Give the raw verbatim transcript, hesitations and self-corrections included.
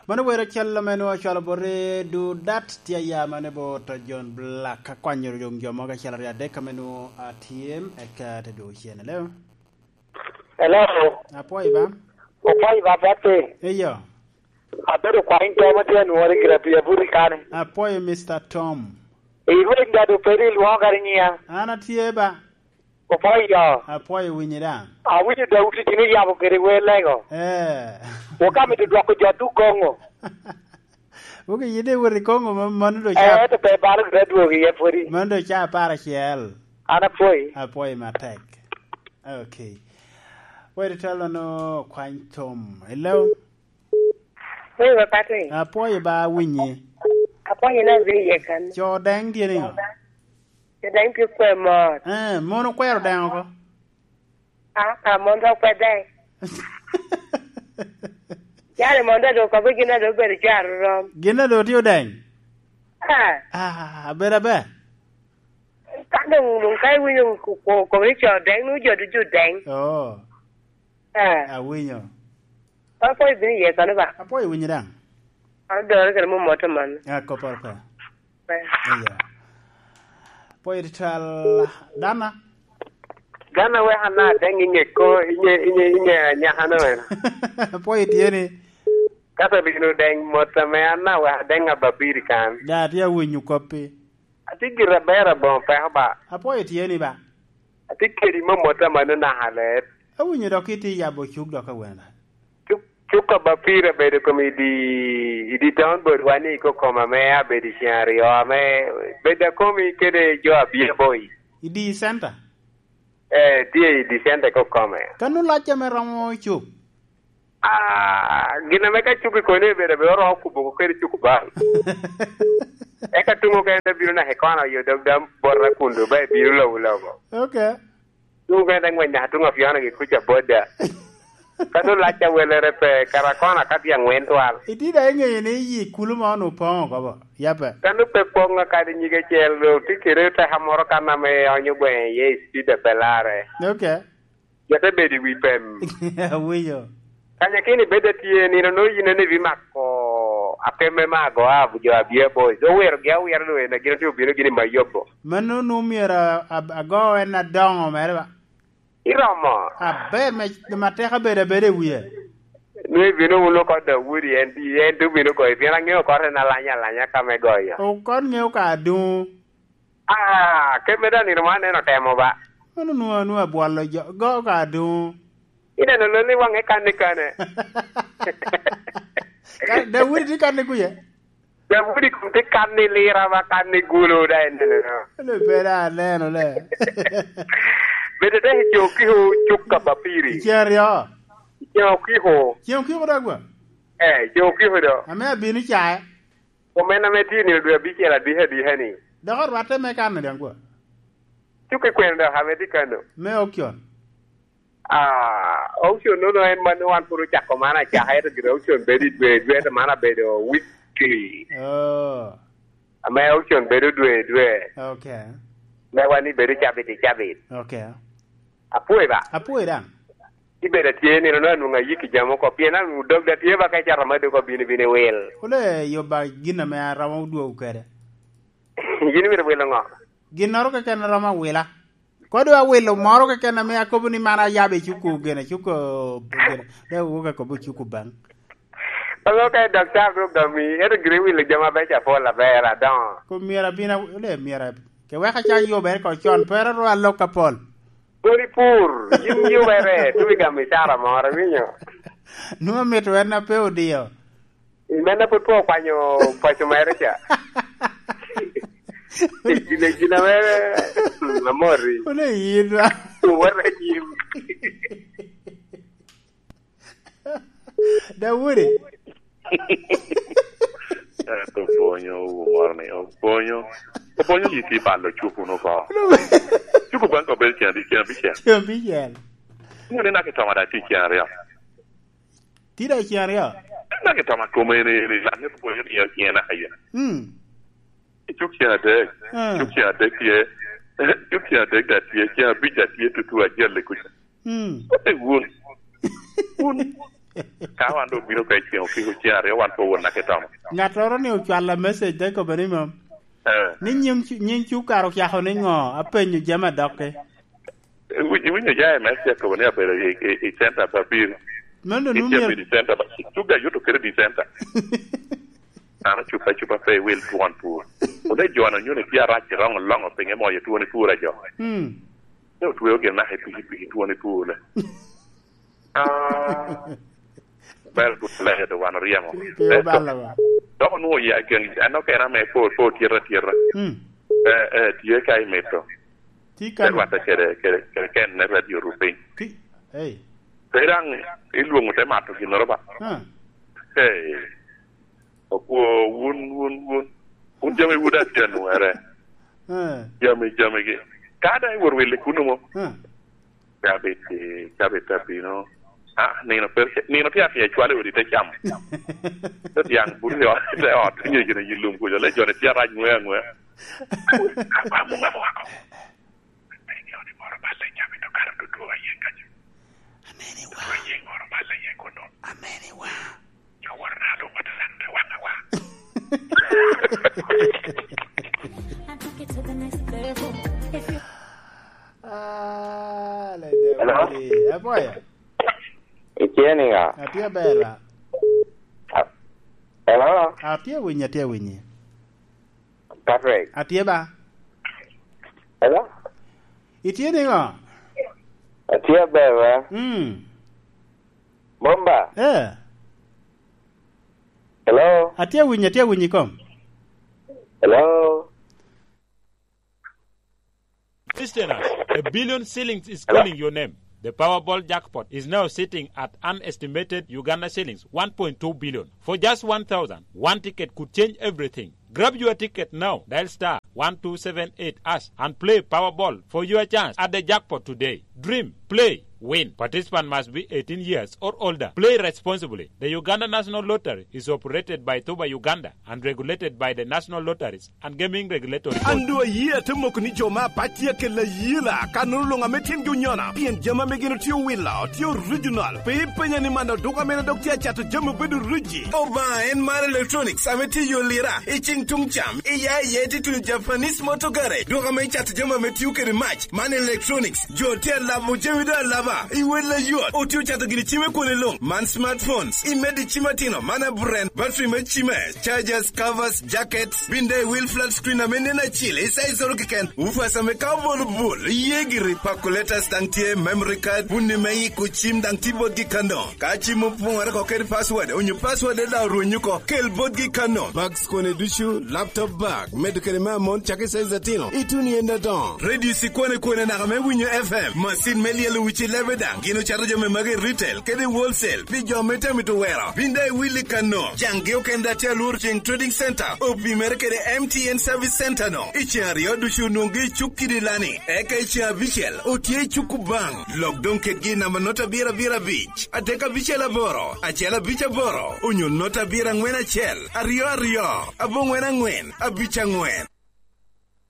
Mano wero cal ame nwoŋo ocwalo bot i Dudat, tye aya mane bot John Black, akwanyo doŋ jo mogo acel aryo adek ame nwoŋo atye, eka te dwogo cen. Hello? Hello? Apwoyo ba? Apwoyo ba, Papi. Eyo. Abedo kwaŋ Tom, atye anwori gira pi abuti kani. Apwoyo, Mister Tom. Irweny gado peri, ilwoŋo kadi nyiya. An atye ba. Opwoyo. Apwoyo winyi daŋ. Awinyo Daudi gin oyabo kede wer lego. Eh. Wok amito dwoko jo duk Kongo. Wok iyide iwot i Kongo ma-, mano do ca. Eh, to pe balo gire dwogo iye pwodi. Mano do ca apar acel. An apwoyi. Apwoyi matek. Okay. Weri telo no kwany Tom. Hello? Wei, wa Patrick. Apwoyo ba winyi. Apwoyo na bino iye kan. Co deng tye ni ŋo? Co deng tye kwe mot. Eh, mon okwero deng oko? Ah, ah, mon dok kwe deng. Yare mon dok okobo gin a dok obedo cwar rom. Gin a dok tye odeng? Ah. Ah, aber aber. Ka dong, dong ka iwinyo ko-, ko-, kobo ni co deng, nwoŋo jo ducu deng. Oh. Ah. Awinyo. Apwoyo bino iye kono ba? Apwoyo winyi daŋ. An odore kede mom moto man. Ah, kopporo pe. Pe. Iya. Apwoyo tutwal, Dana. Dana wek ana deŋ i ŋe ko, i ŋe, i ŋe, i ŋe anyaka no eno. Apwoyo tye ni. Kato bino deŋ mot ame an na wek adeŋ ababiri kan. Da, tye awinyo koppi. Atye gire aber aboŋo peko ba. Apwoyo tye ni ba. Atye kedi mom mot amanno naka ler. Awinyo dok itye yabo cuk dok awene. Cuk, cuk a ba pire bedo kom i di, i di town bot wa ni kokoma ame abedo i ceng aryo ame bedo akomi kede jo abia boy. I di center? Eh, tye i di center kokome. Kano lac ame romo cuk? Ah, gin ame ka cuk i koni obedo, obedo oromo kubo ko kede cuk bal. Eka tuŋ okene te bino naka i kona yo dog dam bota kun do ba ibino lobo lobo. Okay. Tuŋ okene te ngwec naka tuŋ afiono gi kuca boda. Ka doŋ lac awelere pe, kara kona ka tye angwen twal. Iti da iŋeyo ni yi kulu ma onu poŋo kobo, yape. Ka nu pe poŋ akadi nyige cel do, ti kede teka moro kan ame onyo gweŋe iye i speed a pe larre. Okay. Jo te bedo i wi pem. Awinyo. Kanyakini bed atye nino no yin ene ibimako apeme me ago abu jo abia boys. Owero gi awira do en, gin otye obino gini ma yobo. Mano nu myero a-, a-, ago en adoŋo mere ba? Iromo. Aber me, ma teka bedo abeda i wie. Nu ibino wun oko Daudi, en, en dong bino goyo, pien aŋeo oko en alanya alanya ka me goyo. Okon ŋeo ka aduŋ. Ah, kemme daŋ nino man en otemo ba. Mano nwoŋo, nwoŋo abwolo jo, go ka aduŋ. Ineno loni waŋe kan i kane. Ka Daudi tye kan i kuye? Daudi kun tye kan i lira ba kan i gulo da ineno. Ene pe da aneno le. Bede te i co kiko cuk ka bapiri. Cen aryo. Cen okiko. Cen okiko da gwa? Eh, cen okiko do. Ame abino cae. Kom en ame tye i nino dwe abicel adiki adiki ni. Dok orwatte me kano daŋ kwa? Cuk i kwene dok ame tye kano. Me auction? Ah, auction nono en man wan pwod ocako man acaka, ento gire auction bedo i dwe, i dwe, ento man abedo weekly. Oh. Ame auction bedo dwe, dwe. Okay. Me wan ni bedo cabit i cabit. Okay. Apwoyo ba? Apwoyo daŋ. Ibedo atye nino no anwoŋo ayiki jami oko, pien an dog da tye ba ka icato ma dog obino, bino iwil. Wule yo ba gin ame aromo dwogo kede. Yin imito wilo ŋo? Ginnoro keken aromo awila. Kodi awilo moro keken ame akobo ni man ayabo i cuku gene, cuku gene. De wuka kobo cuku baŋ. Alo ka i daktar dok gami, ento gire wilo jami abeco apol aber adoŋo. Ko myero abin a-, le myero ab-, ke weka ca yubere ko con, pero ru alok apol. Kodi pur, yin yubere, tuwi gamo icara moro, iwinyo? Nwoŋo mito en na pe odio. I mene pwod pe okwanyo paco mere ca. Gin, gin mere, mm, amori. Wala yin ba. Wala yin. Daudi. Ento opwonyo wu moro ni, opwonyo, opwonyo yi ti balo cuku no ko. Cuku bank obed cen abicel, cen abicel. Cen abicel. Inyo ni naka itoma da ti cen aryo. Ti da cen aryo. Naka itoma kome ni, ni, lak ni opwonyo ni cen aryo. Mm. Cuk cen adek. Mm. Cuk cen adek tye. Cuk cen adek da tye. Cen abic da tye tutu acel i kuca. Mm. Kote wun. Wun. Ka wan doŋ obino ka i ceŋ okiko cen aryo, wan pe owot naka i tomo. Ŋattoro ni ocwalla message te kobo ni, "Mam, eh, ni nyiŋ cu-, nyiŋ cukar ocako ni ŋo? Apenyo jami adokke." Iwinyo, iwinyo ja M S ce akobo ni abedo i, i, i center pa pir. Meno doŋ i nwoŋo myero i center pa cuga yuto kede di center. An ocupa acupa pe i wil twon pur. Wun i jo-nu onyo ni tye arac i roŋo loŋo pinye moyo twoni pur a jo. Mm. Te otweo gin naka i pikipiki twoni pur le. Ah, very good player, do wan oryemo. Pe obalo wa. Dok onwoŋo ya gen, an okene ame pe, pe otyeta atyeta. Mm. Eh, eh, tye ka imito. Tye ka te rwatte kede, kede, kede ken ne radio rupiny. Ki-, hey. Pe daŋ ilwoŋo te mato ginnoro ba. Ah. Hey. Okwo, wun, wun, wun. Wun jami wun atye anwere. Eh. Jami, jamigi. Ka daŋ iwor wili kuno mo. Eh. Cabit, cabit abino. Ah, nino pe, nino tye atye cwalo i odi te camo. Te tiang buto i ot, te ot, nyo gine i lum kuca, le jone tye arac ngwe angwe. Amuŋ amo wako. Pe nyo ni moro balle cabit okato tutu aye kaca. Ameni wa. Tutu aye moro balle aye kuno. Ameni wa. Ah, le Hello? Daudi. Apoya. Itye niŋa? Atye aber. Ah, hello? Atye winyi, atye winyi. Patrick. Atye ba. Hello? Itye niŋo? Atye aber, ba. Mm. Bomba. Eh. Hello? Atye winyi, atye winyi kom. Hello? Listeners, a billion shillings is Hello? calling your name. The Powerball jackpot is now sitting at an estimated Uganda shillings one point two billion. For just one thousand, one ticket could change everything. Grab your ticket now. Dial star one two seven eight hash and play Powerball for your chance at the jackpot today. Dream, play, win. Participant must be eighteen years or older. Play responsibly. The Uganda National Lottery is operated by Tuba Uganda and regulated by the National Lotteries and Gaming Regulatory Board. An doŋ ayie ate moko ni jo me apac tye akella ayela, ka nono luŋ ame tyengi onyona, pien jami ame gin otye owilo, tye original. Pe ipenya ni man aduka mene dok tye acato jami obedo origi. Obaŋa en mar electronics ame tye i yo lira, i ceŋ tuŋ cam, i ya i ya itye tuno Japanese Motor Garage, duka ame icato jami ame tio kede mac, man electronics, jo tye alabo jami doŋ alaba, i wel ayot, otye ocato gini cime kwone luŋ, man smartphones, i medo i cim atino, man a brand, battery me cime, chargers, covers, jackets, binde i wil flat screen ame nen acil, i size oro keken, woofers ame ka obolo bul, iye giri, calculators daŋ tye, memory card, puni me iko cim daŋ tye botgi kano. Ka cim opoŋore oko kede password, onyo password daŋ orwenyo oko, kel botgi kano. Bags kone ducu, laptop bag, medo kede me amon cakki size atino, ituno i en adoŋo. Radio ci kwane kwane naka me winyo F M, macin me lyelo wici lebe daŋ, gin ocato jami magi i retail kede i wholesale, pi jo me temo mito wero. Bin daŋ iwilli kano. Jaŋgi okene daŋ tye alworo ceŋ Trading Center, opimere kede M T N Service Center no. I ceŋ aryo ducu onwoŋgi i cuk kidi lani. Eka i ceŋ abicel, otye i cuk Kubaŋ. Lok doŋ kedgi i namba nota abiro abiro abic, adek abicel aboro, acel abic aboro, onyo nota abiro aŋwen acel, aryo aryo, aboŋwen aŋwen, abic aŋwen.